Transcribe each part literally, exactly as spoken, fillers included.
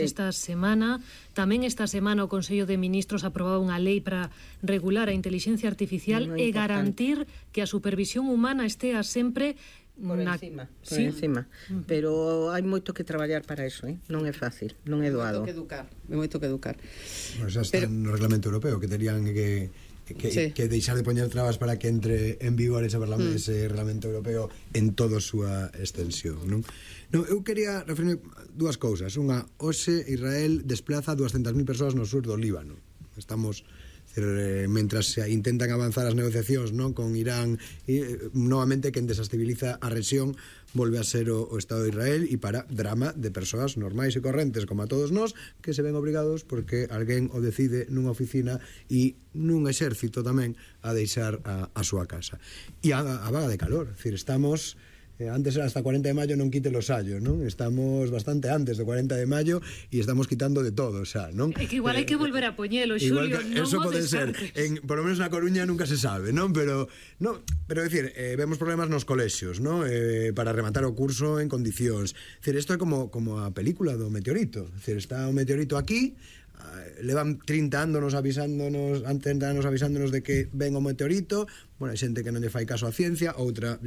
esta semana. Tamén esta semana o Consello de Ministros aprobaba unha lei para regular a inteligencia artificial e garantir que a supervisión humana estea sempre por na... encima, por sí? encima. Uh -huh. Pero hai moito que traballar para eso, eh? Non é fácil, non é doado. Moito que educar, é moito que educar. Bueno, xa está Pero... no Reglamento Europeo que terían que que, sí. que deixar de poñer trabas para que entre en vigor ese, mm. ese Reglamento Europeo en toda a súa extensión, non? Non, eu quería referirme dúas cousas. Unha, hoxe Israel desplaza duascentas mil persoas no sur do Líbano. Estamos, eh, mentras se intentan avanzar as negociacións, non, con Irán, e eh, novamente quen desestabiliza a rexión volve a ser o, o Estado de Israel, e para drama de persoas normais e correntes como a todos nós, que se ven obrigados porque alguén o decide nunha oficina e nun exército tamén a deixar a, a súa casa. E a, a vaga de calor, decir, estamos... Eh, antes era hasta cuarenta de maio non quite los sallos, non? Estamos bastante antes do cuarenta de maio e estamos quitando de todo, xa, non? É que igual eh, hai que volver a poñelo, Xulio, non eso o pode ser, en, por lo menos na Coruña nunca se sabe, non? Pero, no, pero decir, eh, vemos problemas nos colexios, non? Eh, para rematar o curso en condicións. Decir, isto é como, como a película do meteorito. Decir, está o meteorito aquí, levan trinta anos avisándonos, trinta anos avisándonos de que ven o meteorito. Bueno, hai xente que non lle fai caso a ciencia, outra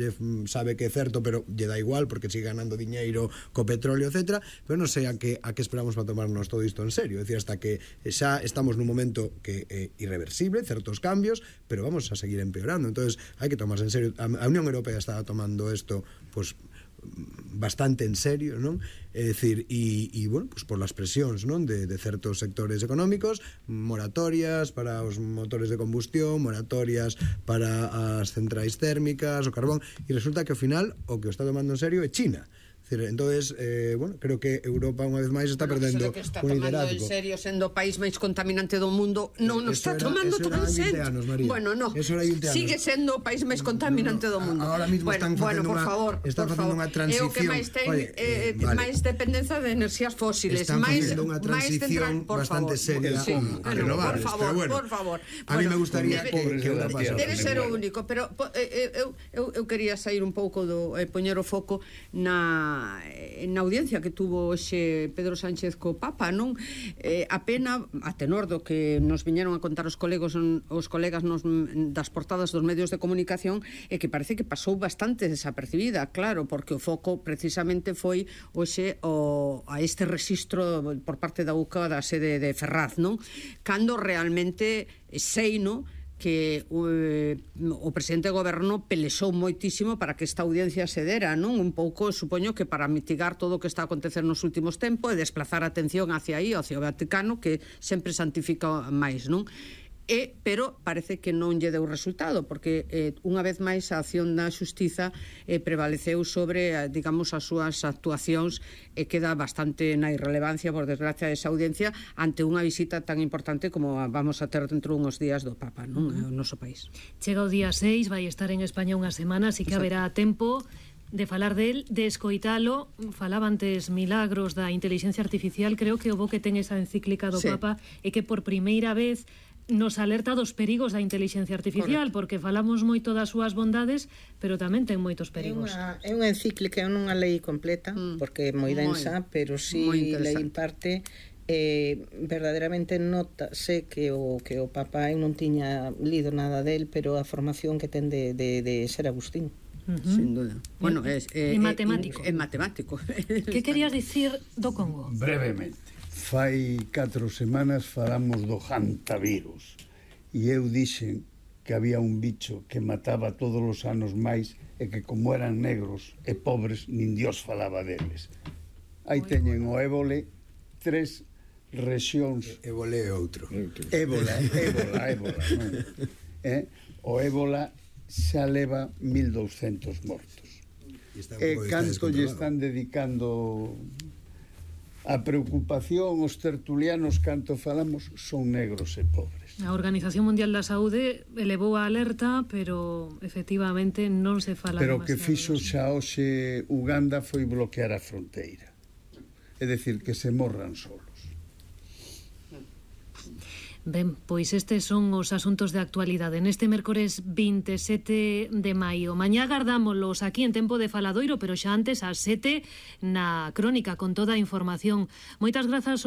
sabe que é certo, pero lle dá igual porque sigue ganando diñeiro co petróleo, etcétera. Pero non sei a que, a que esperamos para tomarnos todo isto en serio. É dicir, hasta que xa estamos nun momento que é irreversible, certos cambios, pero vamos a seguir empeorando. Entonces, hai que tomarse en serio. A Unión Europea está tomando isto, pues, bastante en serio, non? É dicir, e, e bueno, pues por las presións, non? De, de certos sectores económicos, moratorias para os motores de combustión, moratorias para as centrais térmicas, o carbón, e resulta que ao final o que o está tomando en serio é China. Entonces, eh, bueno, creo que Europa unha vez máis está bueno, perdendo está un liderazgo. En serio, sendo o país máis contaminante do mundo, non nos está era, tomando tan en serio. Anos, María. Bueno, no, sigue sigue sendo o país máis contaminante no, no, do mundo. Ahora mismo bueno, están bueno, por una, favor, están por facendo unha transición. É o que máis ten Oye, eh, vale. máis dependencia de enerxías fósiles, están máis facendo unha transición central, bastante favor, seria sí, a renovables, por favor, pero bueno, por favor. A mí me gustaría debe, que, que Europa debe ser o único, pero eh, eu, eu, eu quería sair un pouco do eh, poñer o foco na na audiencia que tuvo hoxe Pedro Sánchez co Papa, non? Eh, a pena, a tenor do que nos viñeron a contar os colegos os colegas nos, das portadas dos medios de comunicación, é que parece que pasou bastante desapercibida, claro, porque o foco precisamente foi hoxe o, a este rexistro por parte da U C A da sede de Ferraz, non? Cando realmente sei, non? que eh, o presidente do goberno pelexou moitísimo para que esta audiencia se dera, non? Un pouco, supoño que para mitigar todo o que está a acontecer nos últimos tempos e desplazar a atención hacia aí, hacia o Vaticano, que sempre santifica máis, non? E, pero parece que non lle deu resultado, porque eh, unha vez máis a acción da xustiza eh, prevaleceu sobre, eh, digamos, as súas actuacións e queda bastante na irrelevancia, por desgracia, desa audiencia ante unha visita tan importante como a vamos a ter dentro uns días do Papa, non? Uh -huh. No noso país. Chega o día seis, vai estar en España unha semana, así que Exacto. haberá tempo de falar del, de escoitalo. Falaba antes Milagros da inteligencia artificial, creo que o bo que ten esa encíclica do sí. Papa é que por primeira vez nos alerta dos perigos da inteligencia artificial. Correcto. Porque falamos moito das súas bondades, pero tamén ten moitos perigos. É unha, é unha encíclica, é unha lei completa, mm. porque é moi densa, moi, pero si sí lei en parte eh, verdadeiramente nota, sé que o, que o Papa eu non tiña lido nada del, pero a formación que ten de, de, de ser Agustín. Uh -huh. Sin duda. Bueno, é eh, eh, matemático. É matemático. Que querías dicir do Congo? Brevemente. Fai catro semanas falamos do hantavirus e eu dixen que había un bicho que mataba todos os anos máis e que como eran negros e pobres nin Dios falaba deles. Aí teñen o ébole, tres rexións. Ébole é outro. Ébola, ébola, ébola, non? Eh? O ébola xa leva mil douscentos mortos. E canto lle están dedicando a preocupación os tertulianos canto falamos son negros e pobres. A Organización Mundial da Saúde elevou a alerta, pero efectivamente non se fala. Pero que fixo xa hoxe Uganda foi bloquear a fronteira. É dicir, que se morran solos. Ben, pois estes son os asuntos de actualidade neste mércores vinte e sete de maio. Mañá agardámolos aquí en Tempo de Faladoiro, pero xa antes ás sete na crónica con toda a información. Moitas grazas.